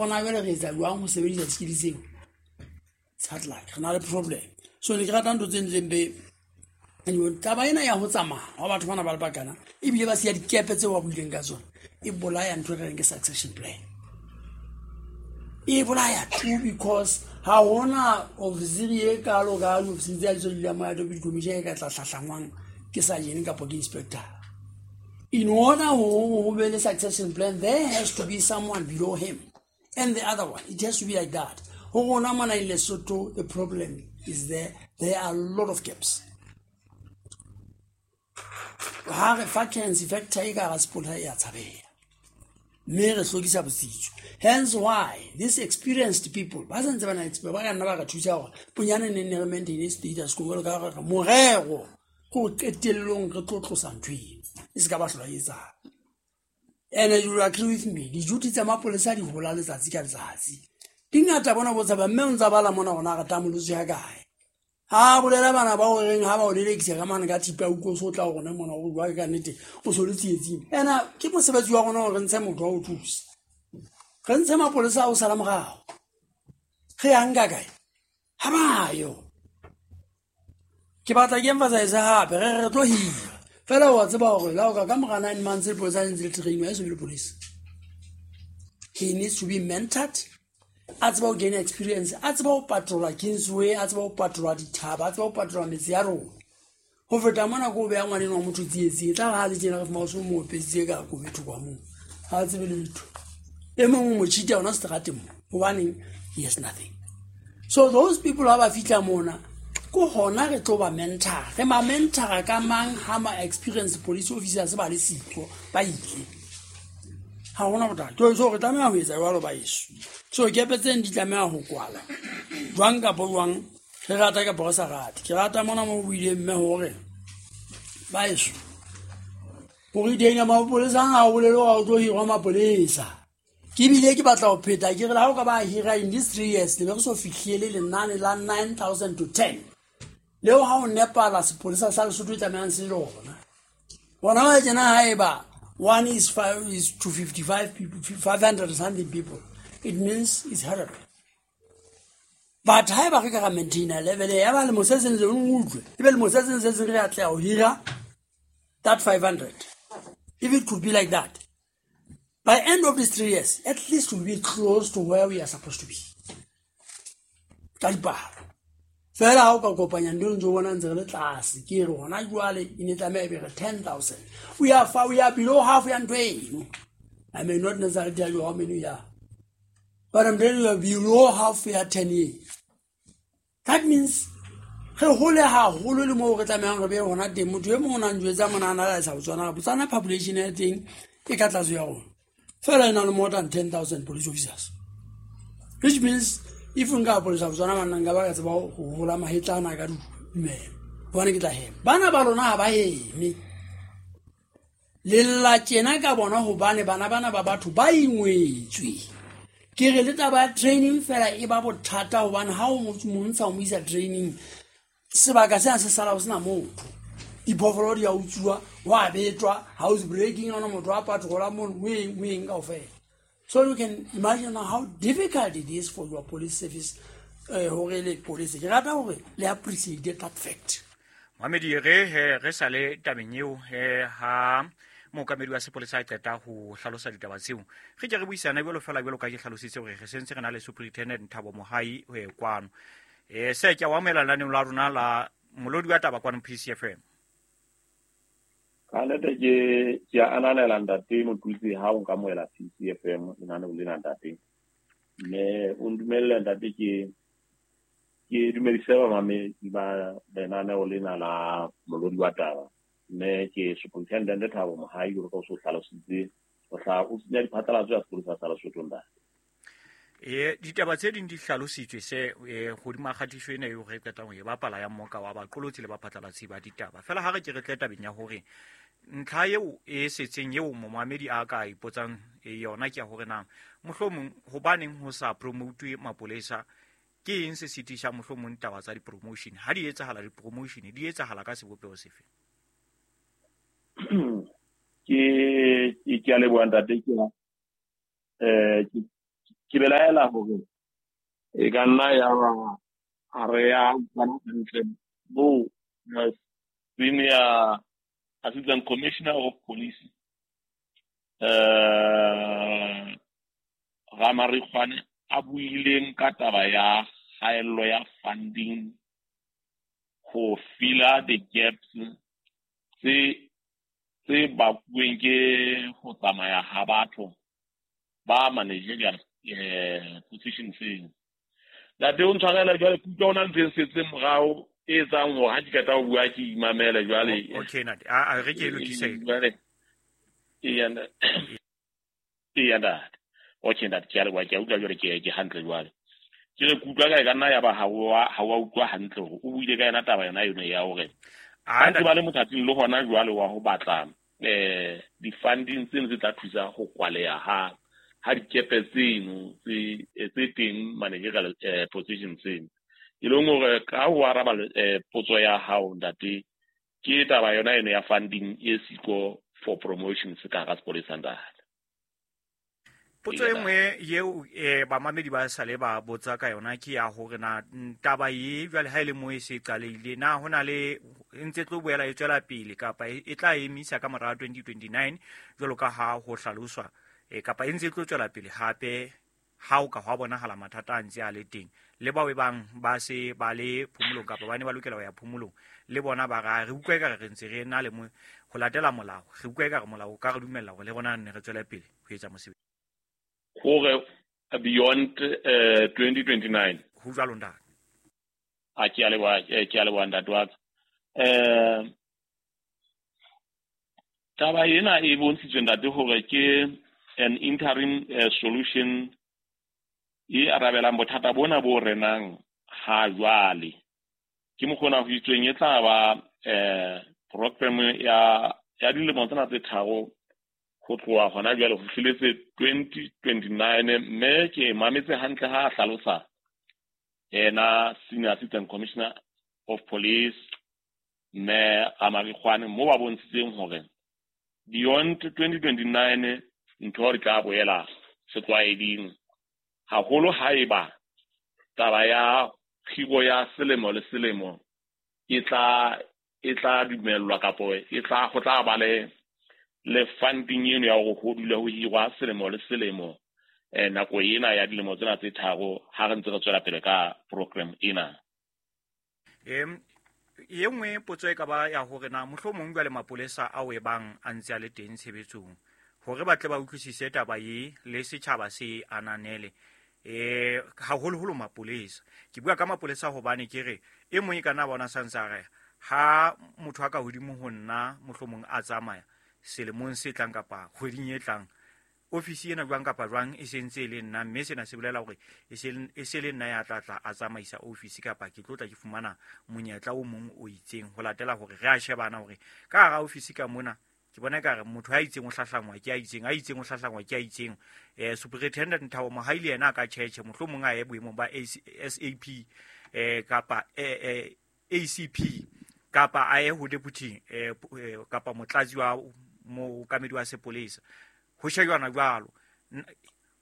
Rona jwale re etsa jwang ho sebedisa di-skill tseo? It's hard luck, re na le problem. So ne ke rata ntho tse ntleng be taba ena ya ho tsamaya wa batho bana ba le bakana, ebile ba siya dikepe tseo ba buileng ka tsona, e bolaya ntho e re reng ke succession plan. E bolaya too, because ha hona ofisiri e kalo ka diofisiri tse tse dulang mo ya deputy commissioner e ka tla hlahlangwang ke sergeant kapa ke inspector. In order ho be le succession plan, there has to be someone below him and the other one. It has to be like that. Ho rona mona in Lesotho, the problem is there are a lot of gaps. Ha re vacancy factor e ka hara sepolesa e a tshabeha, mme re hlokisa botsitso. Hence why these experienced people ba santse ba na experience, ba ka nna ba re thusa hore bonyane ne ne re maintain status quo jwalo ka hore morero ke ho qetellong re tlo tlosa ntho eno e se ka ba hlola e etsahala. And you will agree with me, di-duty tsa mapolesa di hola letsatsi ka letsatsi. Di ngata bona bo tshaba, mme o ntsa bala mona hore na re tamolotse ya kae. Ha bolela bana ba o reng ha ba o lelekisa ka mane ka thipa, o utlwe o so tla ho rona mona o bua ka nnete, o so le tsietsing. Ena ke mosebetsi wa rona hore re ntshe motho wa ho thusa. Re ntshe mapolesa a o sala morao. Re ya nka kae? Ha ba yo. Ke batla ke emphasize hape, re re tlo hira. Fela wa tseba hore la o ka mora 9 months lepolesa le ntse le trainwa, e so be lepolesa. He needs to be mentored. A tseba ho gain experience, a tseba ho patrola Kingsway, a tseba ho patrola dithaba, a tseba ho patrola metse ya rona. Ho feta mona ko beha ngwaneno wa motho tsietsing, e tla re ha le tjena re fumana o so mo opeditse ka kobe thoko moo. Ha a tsebe letho. E mong o mo cheat-a hona seterateng mo. Hobaneng? He has nothing. So those people ha ba fihla mona, ko hona re tlo ba mentor. Re ma mentor ka mang ha ma experience police officers ba le siko, ba ile. Ha hona bothata. So re tlameha ho etsa jwalo ba heso. So kepe tseno di tlameha ho kwala. Jwang kapa jwang, re rata kapa re sa rate. Ke rata mona mo buileng mme hore ba heso, ho retain mapolesa ha o bolele hore o tlo hirwa mapolesa. Ke bile ke batla ho pheta, ke re le ha o ka ba hira in these 3 years, le be re so fihlele lenane la 9,000 to 10. Leo ha o nepala sepolesa sa Lesotho e tlamehang se lona. Bona ba tjena haeba one is five is to 55 people, 500 something people, it means it's horrible. But haeba re ka ra maintain level ya ba lemo se seng se utlwe, ebe lemo se seng se seng re atleha ho hira that 500. If it could be like that, by end of these 3 years, at least we'll be close to where we are supposed to be. Ka dipalo. Fela ha o ka kopanya ntho ntse o bona ntse re le tlase, ke re hona jwale e ne tlameha e be re 10,000. We are far, we are below half ya ntho eno. I may not necessarily tell you how many we are, but I'm telling you we are below half ya 10 years. That means re hole haholo le moo re tlamehang re be hona teng. Motho e mong o na njwetsa mona a na le sa Botswana, Botswana population ya teng e ka tlase ya rona. Fela e na le more than 10,000 police officers. Which means if nka polisa Botswana banna nka ba ka tseba ho hola mahetla ana ka dumelo. Hobane ke tla hema. Bana ba lona ha ba heme. Lella tjena ka bona hobane bana bana ba batho ba ingwetswe. Ke re le taba ya training fela e ba bothata hobane ha o mo ntsha o mo isa training, sebaka sena se sala ho sena motho. Diphoofolo di a utsuwa, wa betwa, house breaking, ha hona motho a patrola mono, ho eng, ho eng kaofela. So you can imagine how difficult it is for your police service, hore le police. Ke rata hore le appreciate that fact. Mohamedi, re he re sale tabeng eo he ha mookamedi wa sepolesa a qeta ho hlalosa ditaba tseo, re ke re buisana jwalo fela jwalo ka ke hlalositse hore re sentse re na le Superintendent Thabo Mohai ho e kwano. Se ke a o amohela lenaneong la rona la molodi wa taba kwano PCFM. Ka nnete ke a ananela ntate Motutsi ha o nkamohela PCFM lenaneong lena ntate. Mme o ndumelle ntate ke dumedise bamamedi ba lenaneo lena la molodi wa taba. Mme ke Superintendent Thabo Mohai, jwalo ka o so hlalositse, o hlaha o senya diphatlalatso ya sepolesa sa Lesotho ntate. Ditaba tse ding di hlalositswe se, hodima kgatiso ena eo re qetang ho e bapala ya mmoka wa baqolotsi le baphatlalatsi ba ditaba. Fela ha re ke re tle tabeng ya hore ntlha eo e setseng eo momamedi a ka ipotsang yona ke ya hore na mohlomong hobaneng ho sa promote mapolesa, ke eng se sitisang mohlomong taba tsa di-promotion? Ha di etsahala di-promotion, di etsahala ka sebopeho sefe? Ke a leboha ntate, Ke belaela hore e ka nna ya ba ha re ya utlwana hantle bo senior assistant commissioner of police Ramarikgwane a buileng ka taba ya kgaello ya funding ho filla the gaps tse bakuweng ke ho tsamaya ha batho ba managerial position seng. Ntate o ntshwarela jwale ke utlwa hona ntho e setseng morao e etsang hore ha ke qeta ho bua ke imamele jwale. Okay ntate, a re ke e lokise. Jwale eya ntate. Okay ntate, ke a leboha, ke a utlwa jwale ke hantle jwale. Ke re ke utlwa ka e ka nna ya ba ha wa utlwa hantle hore o buile ka yona taba yona eno ya hore ha ntse ba le mothating le hona jwale wa ho batla di-funding tseno tse tla thusa ho kwaleha ha dikepe tseno tse teng managerial position tseno. E leng hore ka ho araba potso ya hao ntate, ke taba yona eno ya funding e siko for promotions ka hara sepolesa ntate. Potso e nngwe eo bamamedi ba sale ba botsa ka yona ke ya hore na taba e jwale ha e le moo e se qalehile, na hona le e ntse tlo boela e tswela pele kapa e tla emisa ka mora 2029 jwalo ka ha ho hlaloswa, kapa e ntse tlo tswela pele hape ha o ka hwa bonahala mathata a ntse a le teng le bao e bang ba se ba le phomolong kapa ba ne ba lokela ho ya phomolong le bona ba ra re utlwa ekare re ntse re na le ho latela molao, re utlwa ekare molao o ka re dumella hore le rona ne re tswele pele ho etsa mosebetsi hore beyond 2029. Ho jwalo ntate. A ke a leboha ntate wa ka. Taba ena e bontshitswe ntate hore ke an interim solution e arabelang bothata bona bo renang ha jwale. Ke mokgona ho itsweng e tla ba program ya dilemo tsena tse tharo ho tloha hona jwale ho fihletse 2029, mme ke mametse hantle ha a hlalosa yena senior assistant commissioner of police mme Ramarikgwane mo ba bontshitseng hore beyond 2029 ntho di tla boela setlwaeding haholo haeba taba ya kgiro ya selemo le selemo e tla dumellwa kapo e tla ho tla ba le funding eno ya hore ho dule ho hirwa selemo le selemo nako ena ya dilemo tsena tse tharo ha re ntse re tswela pele ka program ena. E nngwe potso e ka ba ya hore na mohlomong jwale mapolesa ao e bang a ntse a le teng tshebetsong hore ba tle ba utlwisise taba e le setjhaba se ananele haholoholo mapolesa. Ke bua ka mapolesa hobane ke re e mong e ka nna bona santse a re ha motho a ka hodimo ho nna mohlomong a tsamaya selemong se tlang kapa kgweding e tlang, ofisi ena jwang kapa jwang e sentse e le nna, mme sena se bolela hore e se le nna ya tla tla a tsamaisa ofisi kapa ke tlo tla ke fumana monyetla o mong o itseng ho latela hore re a shebana hore ka hara ofisi ka mona ke bona ekare motho a itseng o hlahlangwa ke a itseng, a itseng o hlahlangwa ke a itseng. Superintendent Thabo Mohaili yena a ka tjhetjhe mohlomong a ye boemong ba SAP kapa ACP kapa a ye ho deputy kapa motlatsi wa mookamedi wa sepolesa. Ho shejwana jwalo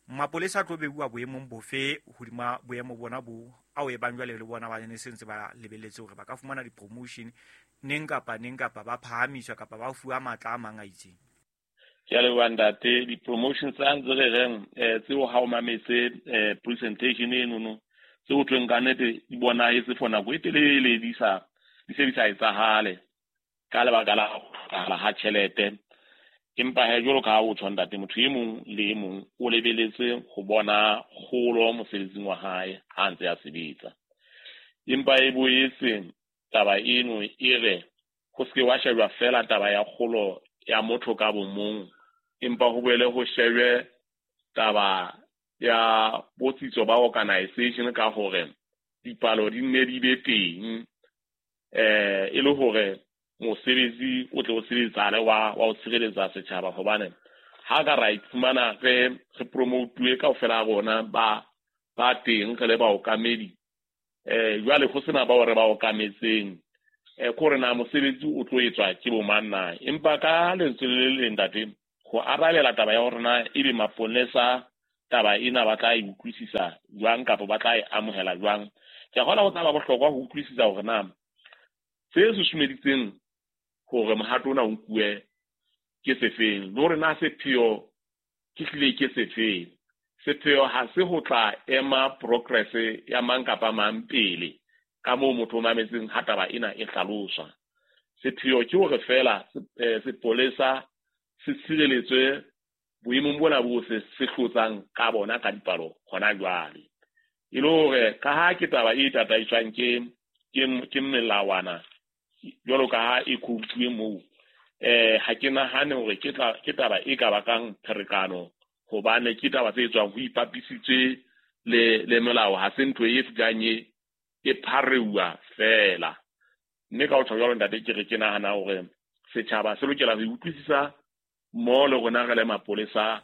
mapolesa a tlo beuwa boemong bofe hodima boemo bona bo ao e bang jwale le bona ba ne sentse ba lebelletse hore ba ka fumana di-promotion neng kapa neng kapa ba phahamiswa kapa ba fuwa matla a mang a itseng. Ke a leboha ntate. Di-promotion tsa ntse re reng tseo ha o mametse presentation enono tseo thweng ka nnete di bonahetse for nako e telele di se di sa etsahale ka lebaka la ho hlokahala ha tjhelete. Empa he jwalo ka ha o tjho ntate, motho e mong le e mong o lebeletse ho bona kgolo mosebetsing wa hae ha ntse a sebetsa. Empa e boetse taba eno e re ho se ke wa shejwa fela taba ya kgolo ya motho ka bomong, empa ho boele ho shejwe taba ya botsitso ba organization ka hore dipalo di nne di be teng e le hore mosebetsi o tle o sebetsale wa ho tshireletsa setjhaba. Hobane ha ka ra iphumana re promotuwe kaofela rona ba teng re le baokamedi, jwale ho sena bao re ba okametseng, ke hore na mosebetsi o tlo etswa ke bo mang na. Empa ka lentswe le leng ntate, ho arabela taba ya hore na ebe maponesa taba ena ba tla e utlwisisa jwang kapa ba tla e amohela jwang. Ke a kgolwa ho tla ba bohlokwa ho utlwisisa hore na se susumeditseng hore mohato ona o nkuwe ke sefeng, le hore na sepheo ke hlile ke sefeng. Sepheo ha se ho tla ema progress ya mang kapa mang pele ka moo motho o mametseng ha taba ena e hlaloswa. Sepheo ke hore feela sepolesa se tshireletswe boemong bona bo se hlotsang ka bona ka dipalo hona jwale. E le hore ka ha ke taba e tataiswang ke melawana jwalo ka ha e quotuwe moo, ha ke nahane hore ke taba e ka bakang pherekano, hobane ke taba tse etswang ho ipapisitswe le melao, ha se ntho e fihlang e phareuwa feela. Mme ka ho tjho jwalo ntate, ke re ke nahana hore setjhaba se lokela ho utlwisisa mo le rona re le mapolesa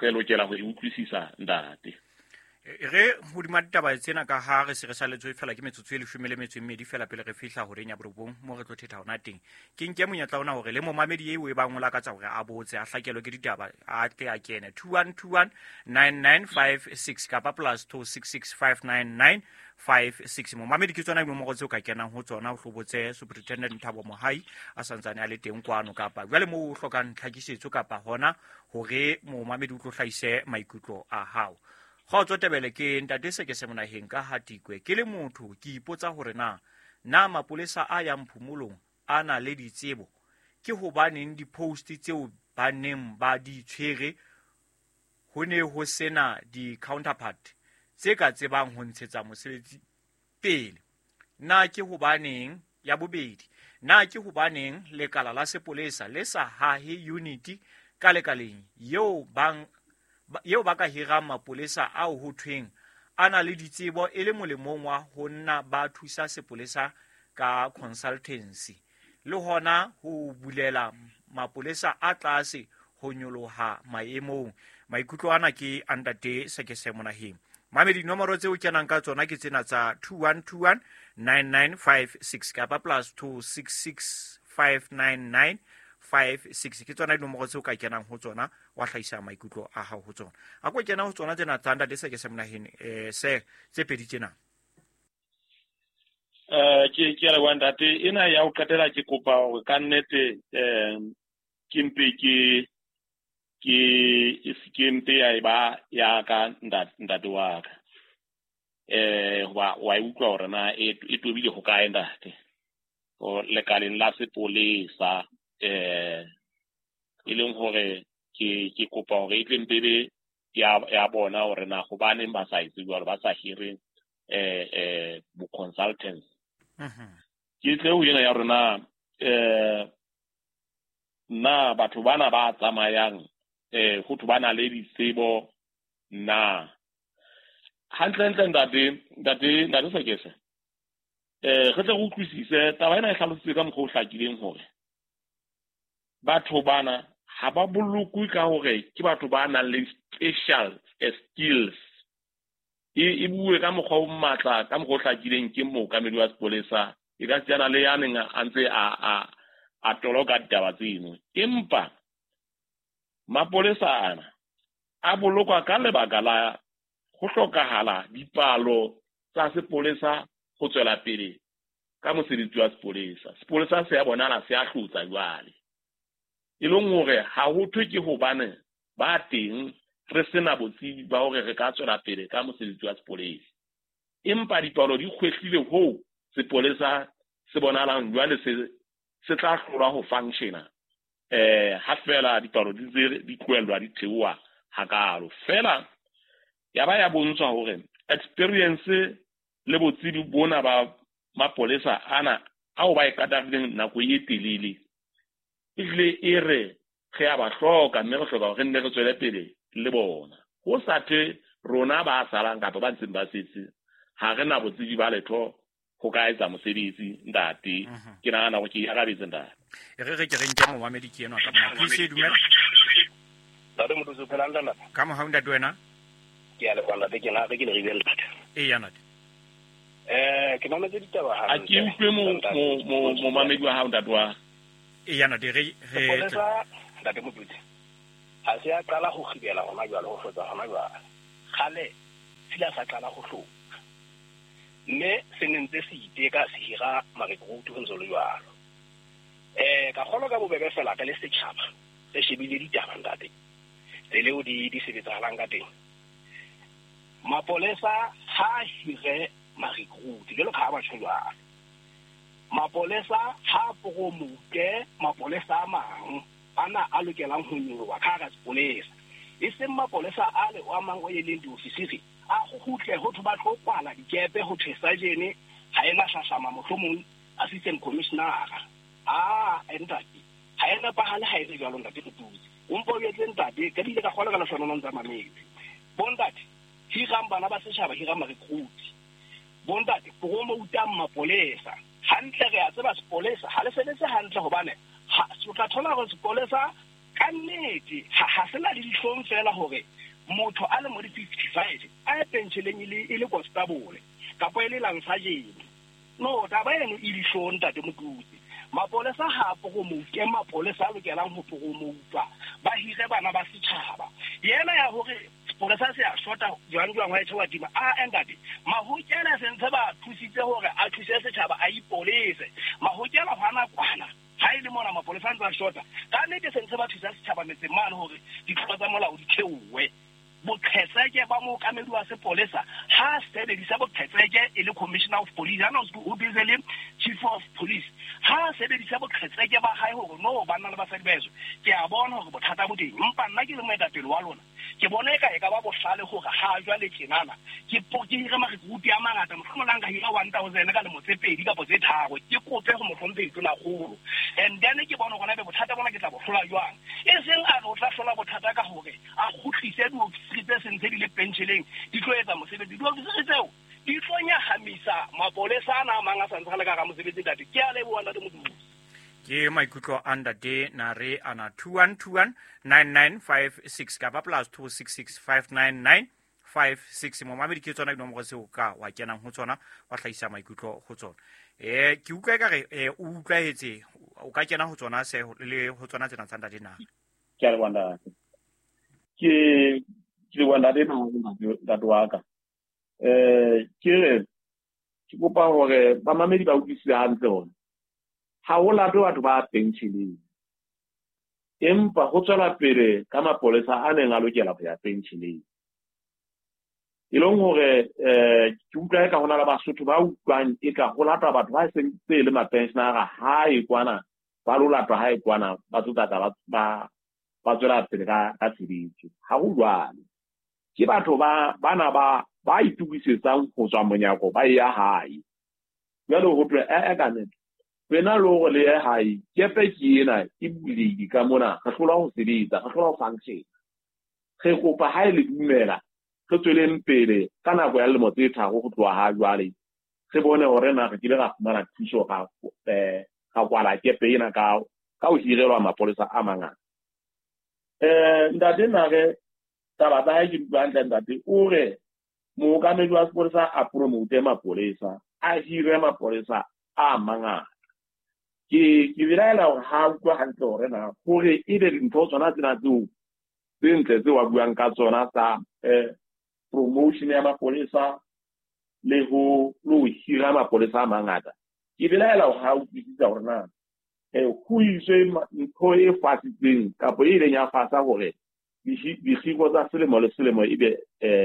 re lokela ho utlwisisa ntate. Re hodima ditaba tsena ka ha re se re saletswe fela ke metsotso e 12 fela pele re fihla horeng ya borobong mo re tlo thetha hona teng. Ke nke monyetla ona hore le momamedi eo e bang o lakatsa hore a botse a hlakelwe ke ditaba a tle a kene 2121 9956 kapa +266 59956. Momamedi ke tsona dinomoro tseo ka kenang ho tsona o hlobotse Superintendent Thabo Mohai a santsane a le teng kwano, kapa jwale moo o hlokang tlhakisetso kapa hona hore momamedi o tlo hlahise maikutlo a hao. Kgotso Tebele, ke ntate se ke se monaheng ka Hatikwe. Ke le motho ke ipotsa hore na mapolesa a yang phomolong a na le ditsebo, ke hobaneng di-post tseo ba neng ba di tshwere ho ne ho sena di-counterpart tse ka tsebang ho ntshetsa mosebetsi pele? Na ke hobaneng ya bobedi, na ke hobaneng lekala la sepolesa le sa hahe unity ka lekaleng eo ba ka hirang mapolesa ao ho thweng a na le ditsebo e le molemong wa ho nna ba thusa sepolesa ka consultancy, le hona ho bulela mapolesa a tlase ho nyoloha maemong? Maikutlo ana ke a ntate Sekese Monaheng. Mamedi, dinomoro tseo kenang ka tsona ke tsena tsa 2121 9956 kapa +266 599 56. Ke tsona dinomoro tseo ka kenang ho tsona wa hlahisa maikutlo a hao ho tsona. A ko kena ho tsona tsena tsa ntate Sekese Monaheng, se tse pedi tsena. Ke a leboha ntate. Ena ya ho qetela ke kopa hore ka nnete ke mpe ke mpe ya eba ya ka ntate wa ka. Hoba wa e utlwa hore na e tobile ho kae ntate. O lekaleng la sepolesa, e leng hore ke kopa hore e tle mpe be ya bona hore na hobaneng ba sa etse jwalo, ba sa hire bo consultants. Ke tle ho ena ya rona, na batho bana ba tsamayang ho thwe ba na le ditsebo na? Hantle ntate Sekese, re tle re utlwisise taba ena e hlalositswe ka mokgwa o hlakileng hore batho bana ha ba bolokwe ka hore ke batho ba nang le special skills. E bue ka mokgwa o matla, ka mokgwa o hlakileng ke mookamedi wa sepolesa, e ka sejana le ya neng a ntse a toloka ditaba tseno. Empa mapolesa ana a bolokwa ka lebaka la ho hlokahala dipalo tsa sepolesa ho tswela pele ka mosebetsi wa sepolesa. Sepolesa se a bonahala se a hlotsa jwale, e leng hore ha ho thwe ke hobane ba teng re sena botsebi ba hore re ka tswela pele ka mosebetsi wa sepolesa. Empa dipalo di kgwehlile hoo sepolesa se bonahalang jwale se tla hlolwa ho functiona ha fela dipalo di ntse di tlohellwa di theoha hakalo. Fela ya ba ya bontshwa hore experience le botsebi bona ba mapolesa ana ao ba e katarileng nako e telele, ehlile e re re a ba hloka, mme re hloka hore re nne re tswele pele le bona. Ho sa thwe rona ba salang kapa ba ntseng ba setse ha re na botsebi ba letho ho ka etsa mosebetsi ntate. Ke nahana hore ke arabetse ntate. Re ke re nke momamedi ke enwa ka mona. Please dumela. Ntate Motho o phela ntate. Ka mohau ntate wena. Ke a leboha ntate, ke na re ke le ribele ntate. Eya ntate. Ke mametse ditaba ha. A ke utlwe momamedi wa hao ntate wa. Eya ntate, re ntate Motho. Ha se a qala ho kgibela hona jwale, ho hlotsa hona jwale. Kgale sila sa qala ho hlotsa. Mme se ne ntse se iteka se hira marekruti ho ntse le jwalo. Ka kgolwa ka bobebe fela ka le setjhaba re shebile ditaba ntate. Tsela eo di sebetsahalang ka teng. Mapolesa ha hire marekruti jwalo ka ha batho jwalo. Mapolesa ha promote mapolesa a mang ana a lokelang ho nyoloha ka hara sepolesa. E seng mapolesa a le a mang o e leng diofisiri a kgutle ho thwe ba tlo kwala dikepe ho thwe sajene ha ena hlahlama mohlomong assistant commissioner. Ah, ntate ha e nepahale ha e le jwalo ntate Motutsi. O mpo o etse ntate ka dile ka kgolwa ka lehlohonolo ntse a mametse. Bontate hirang bana ba setjhaba, hirang marekruti. Bontate promoutang mapolesa. Hantle re a tseba sepolesa ha le sebetse hantle hobane o tla thola hore sepolesa ka nnete ha se na le dihlong fela hore motho a le mo di 55 a ye pensheleng e le constable kapa e le lansajene. No, taba eno e dihlong ntate Motutsi. Mapolesa ha a promote, mapolesa a lokelang ho promoutwa ba hire bana ba setjhaba. Yena ya hore sepolesa se a shota jwang jwang wa etjha wa tima. A ntate Mahokela se ntse ba thusitse hore a thuse setjhaba a ipolese. Mahokela hwana kwana ha e le mona mapolesa a ntse a shota. Ka nnete se ntse ba thusa setjhaba metseng mane hore ditlolo tsa molao di theowe. Boqhetseke ba mookamedi wa sepolesa ha sebedisa boqhetseke e le commissioner of police, ha o busy le chief of police, ha sebedisa boqhetseke ba hae hore no banna le basadi ba heso ke a bona hore bothata bo teng, empa nna ke le moetapele wa lona ke bona eka e ka ba bohlale hore ha jwale tjenana ke hire marekruti a mangata, mohlomong la nka hira 1000 ka lemo tse pedi kapa tse tharo, ke kope ho mohlomphehi Tonakgolo, and then ke bone hore na ebe bothata bona ke tla bo hlola jwang. E seng a re o tla hlola bothata ka hore a kgutlise diofisiri tse seng tse di le pensheleng di tlo etsa mosebetsi. Diofisiri tseo di tlo nyahamisa mapolesa ana a mang a sa ntse a le ka hara mosebetsi ntate. Ke a leboha ntate Motutsi. Ke maikutlo a ntate Nare ana 21219956 kapa plus 26659956. Momamedi ke tsona dinomoro tseo ka wa kenang ho tsona wa hlahisa maikutlo ho tsona. Ke utlwa ekare o utlwahetse, o ka kena ho tsona se le ho tsona tsena tsa ntate Nare. Ke a leboha ntate. Ke leboha ntate ntate wa ka. Ke re ke kopa hore bamamedi ba utlwisise hantle hore ha ho latwe batho ba pensheleng, empa ho tswela pele ka mapolesa a neng a lokela ho ya pensheleng. E leng hore ke utlwa eka ho na le Basotho ba utlwang eka ho latwa batho ba seng tse le mapensionara hae kwana, ba lo latwa hae kwana, ba tlo tla ba tswela pele ka tshebetso. Ha ho jwalo. Ke batho ba bana ba itukisetsang ho tswa monyako ba ya hae. Jwale ho thwe ka nnete wena le hore le ye hae, kepe ke ena e bulehile ka mona, re hlola ho sebetsa, re hlola ho function. Re kopa ha e le dumela re tsweleng pele ka nako ya lemo tse tharo ho tloha ha jwale, re bone hore na re kile ra fumana thuso ra kwala kepe ena ka ho hirelwa mapolesa a mangata. Ntate Nare taba tsa hae ke di utlwa hantle ntate, o re mookamedi wa sepolesa a promote mapolesa, a hire mapolesa a mangata. Ke belaela hore ha utlwa hantle hore na hore ebe dintho tsona tsena tseo tse ntle tseo a buang ka tsona tsa promotion ya mapolesa le ho hira mapolesa a mangata. Ke belaela hore ha utlwisisa hore na ho iswe ntho e fasitseng kapa e ileng ya fasa hore dikgiro tsa selemo le selemo ebe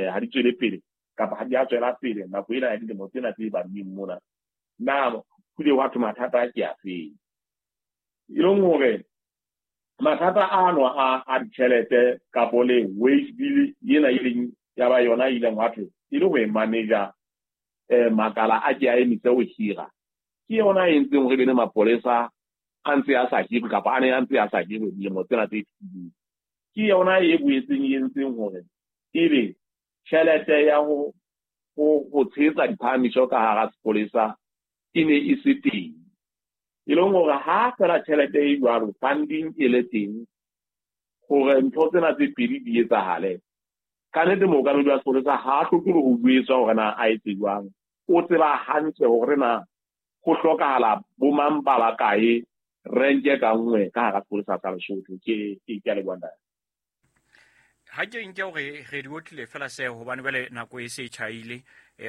ha di tswele pele kapa ha di a tswela pele nako ena ya dilemo tsena tse badileng mona. Na ho ile hwa thwe mathata ke afeng? E leng hore mathata ano a ditjhelete kapo le wage bill ena e leng ya ba yona e ileng hwa thwe e le ho e manager makala a ke a emise ho hira, ke yona e entseng hore be le mapolesa a ntse a sa hirwe kapa a ne a ntse a sa hirwe dilemo tsena tse fetileng. Ke yona e boetseng e entseng hore ebe tjhelete ya ho tshehetsa diphahamiso ka hara sepolesa e ne e se teng. E leng hore ha fela tjhelete e jwalo funding e le teng hore ntho tsena tse pedi di etsahale, ka nnete mookamedi wa sepolesa ha a hloke le ho jwetswa hore na a etse jwang. O tseba hantle hore na ho hlokahala bo mang ba bakae renke ka nngwe ka hara sepolesa sa Lesotho. Ke a leboha ntate. Ha ke nke hore re di otlile fela se hobane jwale nako e se e tjhaile,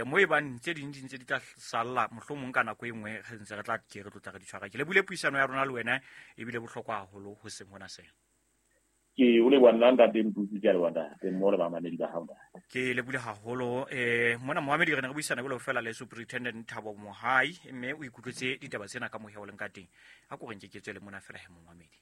mo e bang tse ding di ntse di tla salla mohlomong ka nako e nngwe re ntse re tla ke re tlotla re di tshwara. Ke lebile puisano ya rona le wena ebile bohlokwa haholo ho seng hona sena. Ke o leboha nna ntate Mputsi, ke a leboha ntate mmoho le bamamedi ba hao ntate. Ke lebile haholo. Mona Mohamedi re ne re buisana jwalo fela le Superintendent Thabo Mohai, mme o ikutlwetse ditaba tsena ka moya o leng ka teng. A ko re nke ke tswele mona fela he Mohamedi.